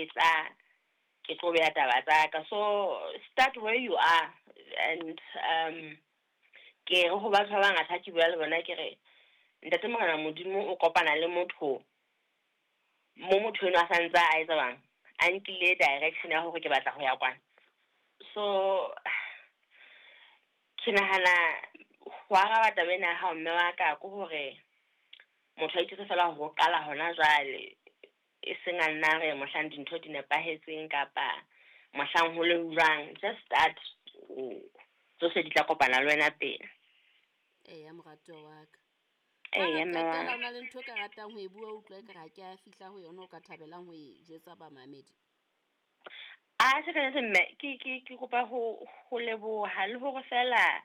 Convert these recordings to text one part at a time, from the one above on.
etsa, ke tlo beha taba tsa ka. So start where you are. And ke re ho batho ba bangata ha ke bua le bona, ke re ntate Morena Modimo o kopana le motho mo motho enwa a santse a etsa bang, a nkile direction ya hore ke batla ho ya kwana. So ke nahana ho araba taba ena ya hao, mme wa ka, ke hore motho a itjwetse fela hore o qala hona jwale, e seng a nna re mohlang dintho di nepahetseng kapa mohlang ho leng jwang. Just start, tsohle di tla kopana le wena pele. Eya, moratuwa wa ka. Ha Eya, re mme wa qetela, ka. o na le ntho e ka ratang ho e bua, utlwa ekare ha ke a fihla ho yona, o ka thabelang ho e jwetsa bamamedi? A se ka mme ke kopa ho leboha le hore fela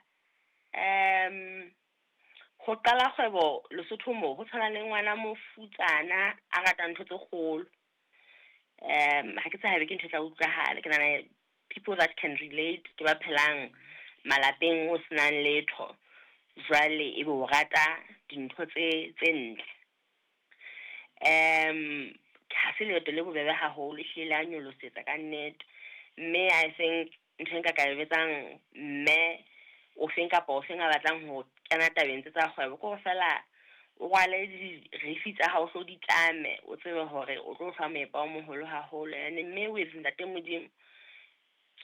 ho qala kgwebo Lesotho mo ho tshwana le ngwana mofutsana a ratang ntho tse kgolo. Ha ke tsebe haebe ke ntho e tla utlwahala. Ke nahana people that can relate ke ba phelang malapeng o senang letho, jwale ebe o rata dintho tse ntle. Ha se leeto le bobebe haholo, ehlile le a nyolosetsa ka nnete. Mme I think ntho e nka ka e jwetsang mme o feng kapa o feng a batlang ho kena tabeng tse tsa kgwebo, ke hore fela o rwale dirifi tsa hao, hlo di tlame, o tsebe hore o tlo hlwa moepa o moholo haholo. And mme with ntate Modimo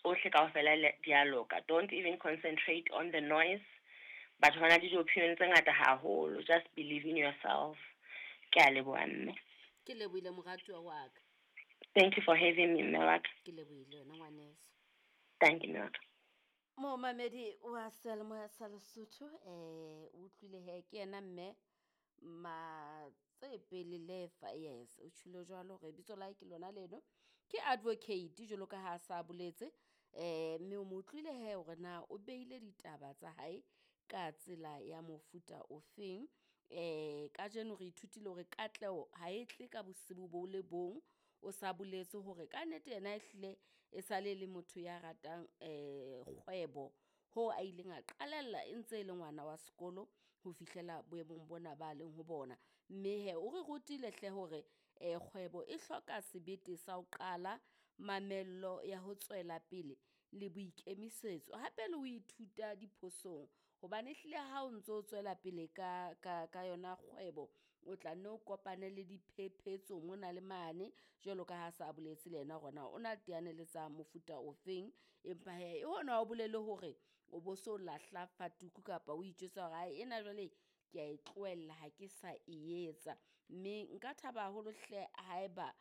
tsohle kaofela di a loka. Don't even concentrate on the noise. Batho ba na le di-opinion tse ngata haholo. Just believe in yourself. Ke a leboha, mme. Ke lebohile, moratuwa wa ka. Thank you for having me, mme wa ka. Ke lebohile wena, ngwaneso. Thank you, mme wa ka. Momamedi wa seyalemoya sa Lesotho, o utlwile he ke yena mme Matsepele Lefa. Yes, o tjholo jwalo hore bitso la hae ke lona leno, ke advocate jwalo ka ha sa boletse. Mme o mo utlwile he hore na o beile ditaba tsa hae ka tsela ya mofuta ofeng. Kajeno re ithutile hore katleho ha e tle ka bosibu bo le bong. O sa boletse hore ka nnete yena ehlile e sale le motho ya ratang kgwebo, ho a ileng a qalella e ntse e le ngwana wa sekolo ho fihlela boemong bona ba leng ho bona. Mme he o re rutile hle hore kgwebo e hloka sebete sa ho qala, mamello ya ho tswela pele le boikemisetso, hape le ho ithuta diphosong, hobane ehlile ha o ntso tswela pele ka yona kgwebo, o tla nne o kopane le diphephetso mona le mane, jwalo ka ha sa boletse le yena hore na o na teane le tsa mofuta ofeng. Empa hee hona ho bolele hore o bo so lahla fatuku kapa o itjwetsa hore ae ena jwale ke a e tlohella, ha ke sa e etsa. Mme nka thaba haholo hle haeba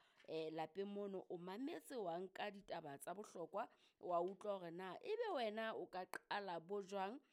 lapeng mono o mametse, wa nka ditaba tsa bohlokwa, wa utlwa hore na ebe wena o ka qala bo jwang.